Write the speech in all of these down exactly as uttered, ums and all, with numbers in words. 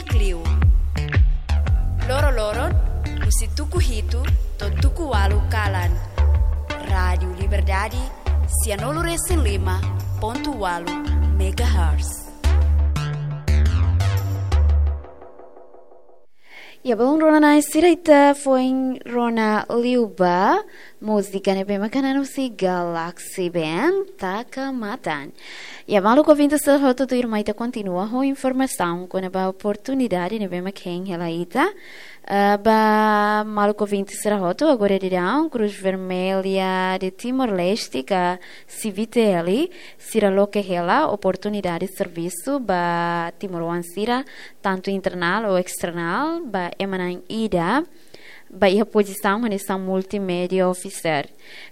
Kliu. Loroloron, husi tuku hitu to'o tuku ualu kalan. Rádiu Liberdade, sianulu-resin-lima pontu ualu megahertz. Ya, belun rona-na'in sira, ita foin rona liu ba múzika ne'ebé mak hanan husi Galaxy Band, Taka Matan. Ya, maluk ouvinte sira hotu, tuirmai ita kontinua ho informasaun kona-ba oportunidade ne'ebé mak hein hela ita. Eh, ba maluk ouvinte sira hotu, agora daudaun Cruz Vermelha de Timor-Leste ka CVTL, sira loke hela oportunidade servisu ba timoroan sira, tantu internal ou external, ba ema na'in ida ba iha pozisaun hanesan multimedia officer.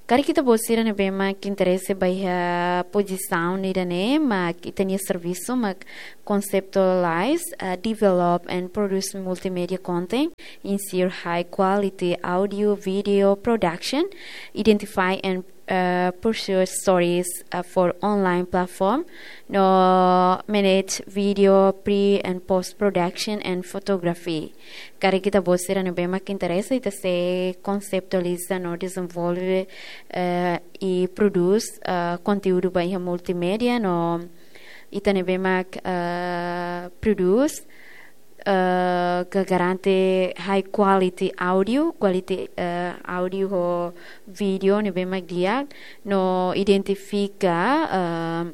Karik ita-boot sira ne'ebé mak interese ba iha pozisaun ida-ne'e, mak ita-nia servisu mak conceptualize, uh, develop and produce multimedia content, ensure high quality audio, video production, identify and, uh, pursue stories, uh, for online platform, no manage video pre and post production and photography. Karik ita-boot sira ne'ebé mak interese, ita sei konseptualiza no dezenvolve, eh, i prodús, eh, konteúdu ba iha multimédia, no ita ne'ebé mak, eh, prodús, eh, ka garante high quality audio, quality, eh, audio ho vídeo ne'ebé mak di'ak, no identifika, eh,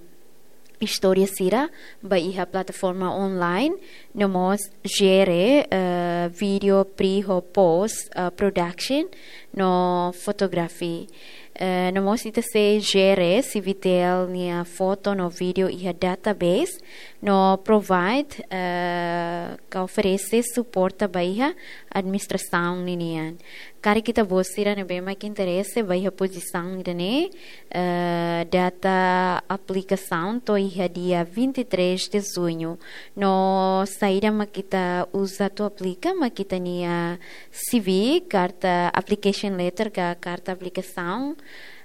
istória sira ba iha plataforma online, no mós jere, eh, vídeo pre ho post, eh, production, no photography. Eh, no mós ita sei jere CVTL nia foto no vídeo iha database, no provide, eh, ka oferese suporta ba iha administrasaun ninian. Karik ita-boot sira ne'ebé mak interese ba iha pozisaun ida-ne'e, eh, data aplikasaun to'o iha dia vinte e três de junho. No saida mak ita uza atu aplika, mak ita-nia CV, karta application letter ka karta aplikasaun,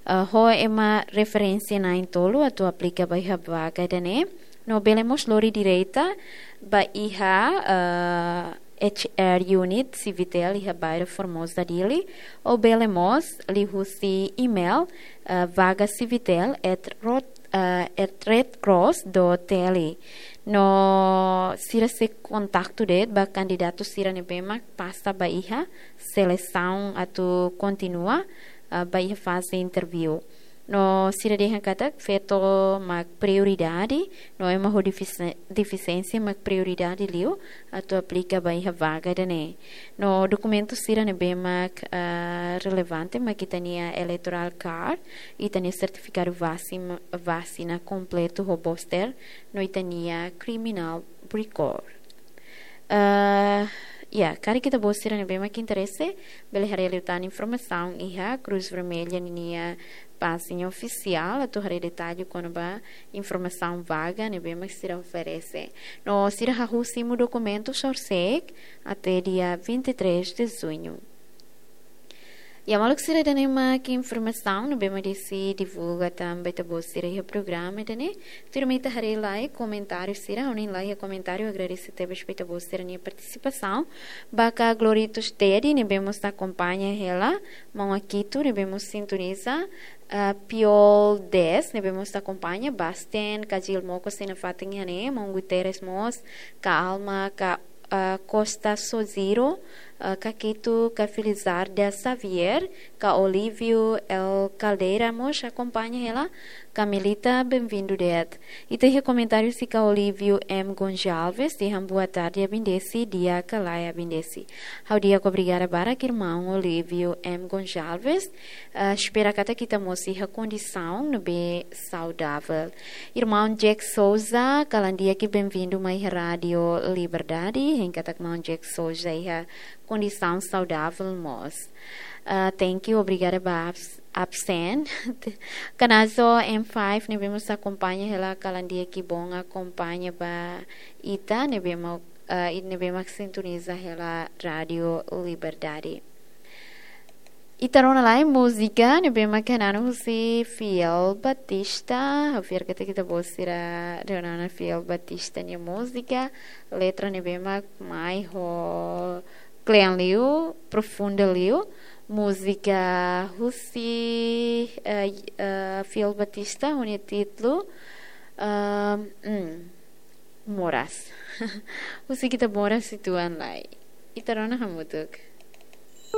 eh, ho ema referénsia na'in-tolu atu aplika ba iha vaga ida-ne'e. No bele mós lori direta ba iha, eh, H R unit CVTL iha bairru Formosa, Dili, ou bele mós liuhusi email, eh, vaga CVTL at rot-, eh, at redcross dot T L. No sira sei kontaktu de'it ba kandidatu sira ne'ebé mak pasa ba iha selesaun atu kontinua, eh, ba iha faze interview. No sira dehan katak feto mak prioridade, no ema ho defisi-, defisiénsia mak prioridade liu atu aplika ba iha vaga ida-ne'e. No dokumentu sira ne'ebé mak, ah, relevante mak ita-nia electoral card, ita-nia sertifikadu vasi-, vasina kompletu ho booster, no ita-nia criminal record. Ah, ya, karik ita-boot sira ne'ebé mak interese, bele haree liután informasaun iha Cruz Vermelha ninia pájina ofisiál, atu haree detalle kona-ba informasaun vaga ne'ebé mak sira oferese. No sira hahú simu dokumentu sorsek até dia vinte e três de junho. Ya, maluk sira, ida-ne'e mak informasaun ne'ebé mak desi divulga tan ba ita-boot sira iha programa ida-ne'e. Tuirmai ita haree lai komentáriu sira, ha'u-nia lai iha komentáriu, agradese tebes ba ita-boot sira-nia partisipasaun. Ba ka Gloritus Teddy, ne'ebé mós akompaña hela, maun Akito, ne'ebé mós sintoniza, ah, Piol Des, ne'ebé mós akompaña, Basten, ka Jil Moko sei nafatin iha ne'e, maun Guterres mós, ka Alma, ka, ah, Costa Sojiro, ah, ka Kito, ka Felizarda Xavier, ka Olívio L Caldeira mós akompaña hela, ka Melita, benvindu de'it. Ita iha komentáriu husi ka Olívio M Gonçalves, dehan boa tarde, Abindesi, di'ak ka lae, Abindesi. Ha'u di'ak, obrigada barak, irmaun Olívio M Gonçalves. Ah, espera katak ita mós iha kondisaun ne'ebé saudavel. Irmaun Jack Souza, kalan di'ak, benvindu mai iha Rádiu Liberdade. Hein katak maun Jack Souza iha kondisaun saudavel mós. Ah, thank you, obrigada ba abs-, absen. Kanazo M five, ne'ebé mós akompaña hela, kalan di'ak, ki'ik bom akompaña ba ita, ne'ebé mak, ah, i ne'ebé mak sintoniza hela Rádiu Liberdade. Ita rona lai múzika ne'ebé mak hananu husi Fiel Batista. Ha'u fiar katak ita-boot sira rona ona Fiel Batista nia múzika. Letra ne'ebé mak mai ho kle'an liu, profunda liu. Múzika husi, eh, eh, Fiel Batista, ho nia títulu, ehm, hmm, Moras. Husik ita moras uitoan lai. Ita rona hamutuk.